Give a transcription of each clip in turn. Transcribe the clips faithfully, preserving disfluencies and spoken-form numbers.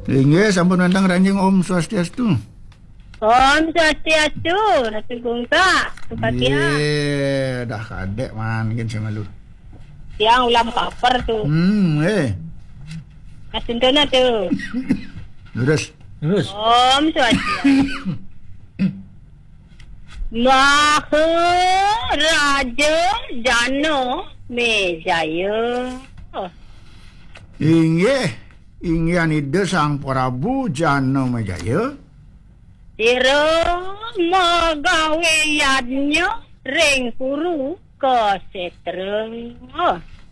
Inggih, sampun wénten ngranjing. Om Swastiastu. Om Swastiastu, Ratu Gungka, Supatia. Nggih, dah kadék mangkin sing malu. Tiang ulam kaper tu. Hmm, eh. Mas Sentona tu. Lurus. Lurus. Om Swastiastu. Maharaja Jana Mejaya. Inggih, inggihan Ida Sang Prabu Jana Mejaya. Sira magawé yadnya ring Kuru Kasetra.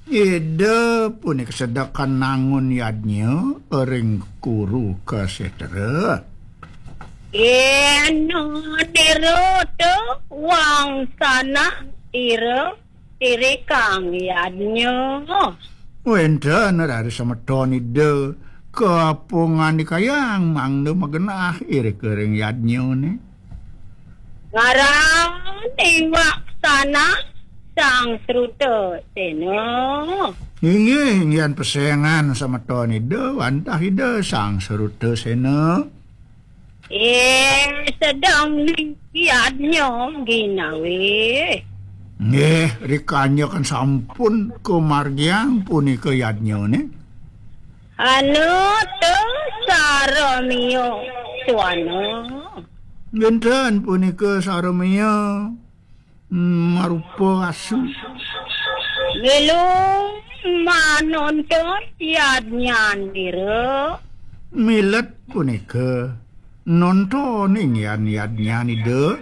Ida punika sedekan nangun yadnya ring Kuru Kasetra. Yén nira tu wangsanah ira tirikang yadnya. Wénten raris semeton Ida kapangandikayang mangda magenah irika ring yadnyané. Ngaran iwak sanak Sang Sruta Sena. Inggih, inggihan pesengan semeton Ida wantah Ida Sang Sruta Sena. Eh, sedeng ning yadnya ginawé. Nggih, rikanya kan sampun kamargiang punika yadnyané. Anu tu saramia suana. Wénten punika saramia, mm, marupa asu. Milu manonton yadnyanira. Milet punika nontoning yan yadnyanida.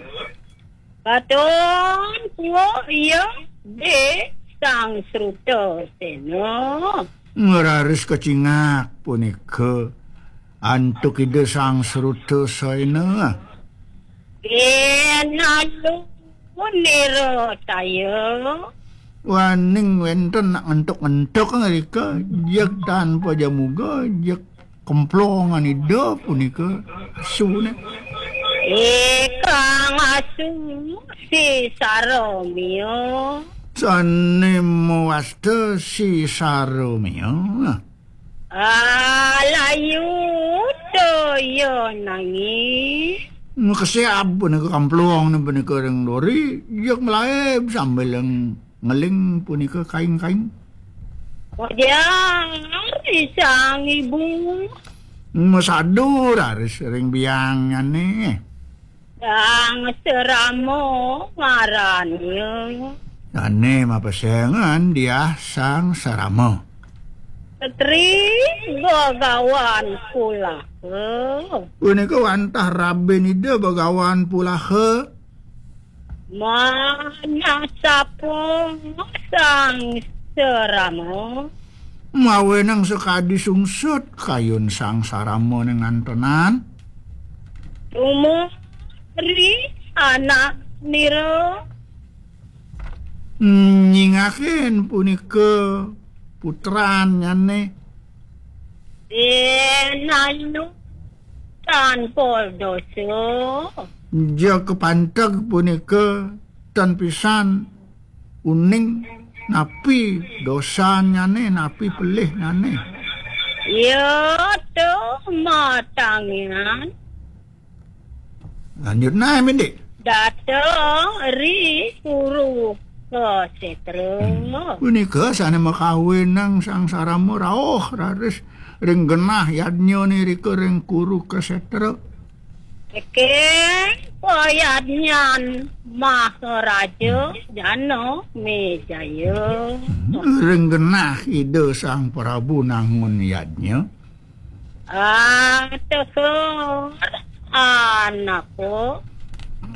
Katon kuuk iya di Sang Sruta Sena. Ngraris kacingak punika antuk Ida Sang Sruta Sena. Inalu nira saya. Waning wénten nak ngentuk-ngentuk ngrika, jeg tanpa jamuga, jeg kemplongan Ida punika asuné. Ikang asu si saramia. Sané mawasta si saramia. Alayu toya nangi. Makesiab punika kamplong punika ring duri, jeg malaib sambil ngeling punika kaing-kaing. Wajar sang ibu. Masadu raris ring biangnyané. Sang Sarama ngarannya. Sané mapesengan Diah Sang Sarama. Setri Bagawan Pulaha. Punika wantah rabin Ida Bagawan Pulaha. Manasapa Sang Sarama. Mawenang sakadi sungsut kayun Sang Sarama ning antonan. Tumuri anak nira. Nyingakin punika putrannyané. Inalu tanpa dosa. Ja kapanteg punika tan pisan uning napi dosannyané, napi pelihnyané. Ya tu matangian. Lanjut nah, Mindik. Dateng ri Kuru Kasetra. Hmm. Punika sané makawinang Sang Sarama rauh raris ring genah yadnyané rika ring Kuru Kasetra. Eke payadnyan Maharaja Jana Mejaya. Hmm. Ring genah Ida Sang Prabu nangun yadnya. Ateher anako.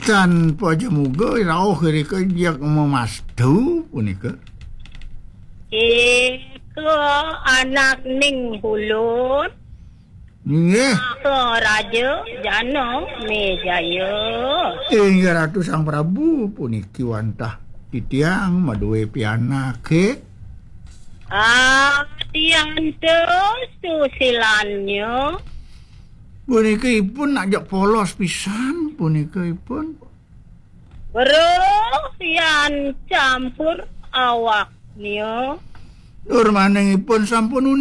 Tan pajamuga rauh irika jeg mamastu punika. Ika anak ning ulun. Nggih. Maharaja Jana Mejaya. Inggih Ratu Sang Prabu, puniki wantah titiang madué pianaké. Adianta susilanya. Punika ipun nak jak polos pisan, punika ipun. Weruh yan campur awaknya. Tur maning ipun sampun